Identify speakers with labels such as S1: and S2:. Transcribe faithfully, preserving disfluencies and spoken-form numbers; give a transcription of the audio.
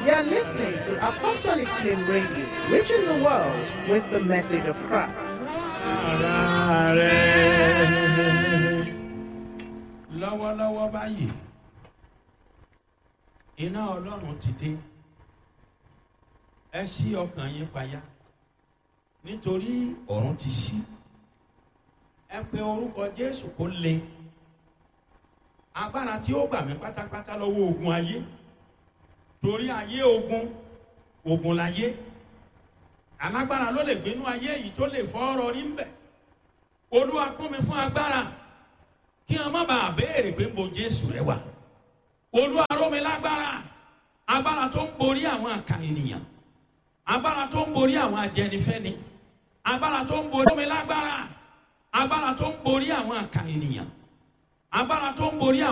S1: You're listening to Apostolic Flame Radio, reaching the world with the message of Christ.
S2: Ara rẹ̀.
S3: Lọ́wọ́lọ́wọ́ báyìí, iná Ọlọ́run ti dé. Ẹ ṣí ọkàn yín payá, nítorí ọ̀run ti ṣí. Ẹ pe orúkọ Jésù kó le. Agbára tí ó gbà mí pátápátá lọ́wọ́ ogun ayé, torí ayé ogun, ogun láyé. Alágbára ló lè gbénú ayé yìí tó lè fọ́ ọ̀rọ̀ rí ń bẹ̀. Olúwa, kún mi fún agbára, kí wọn má bàa béèrè pé bo Jésù rẹ wà. Olúwa, ró mi lágbára, agbára tó ń borí àwọn àkà ènìyàn, agbára tó ń borí àwọn ajẹnifẹ́ni, agbára tó ń borí. Ró mi lágbára, agbára tó ń borí àwọn àkà ènìyàn, agbára tó ń borí àwọn.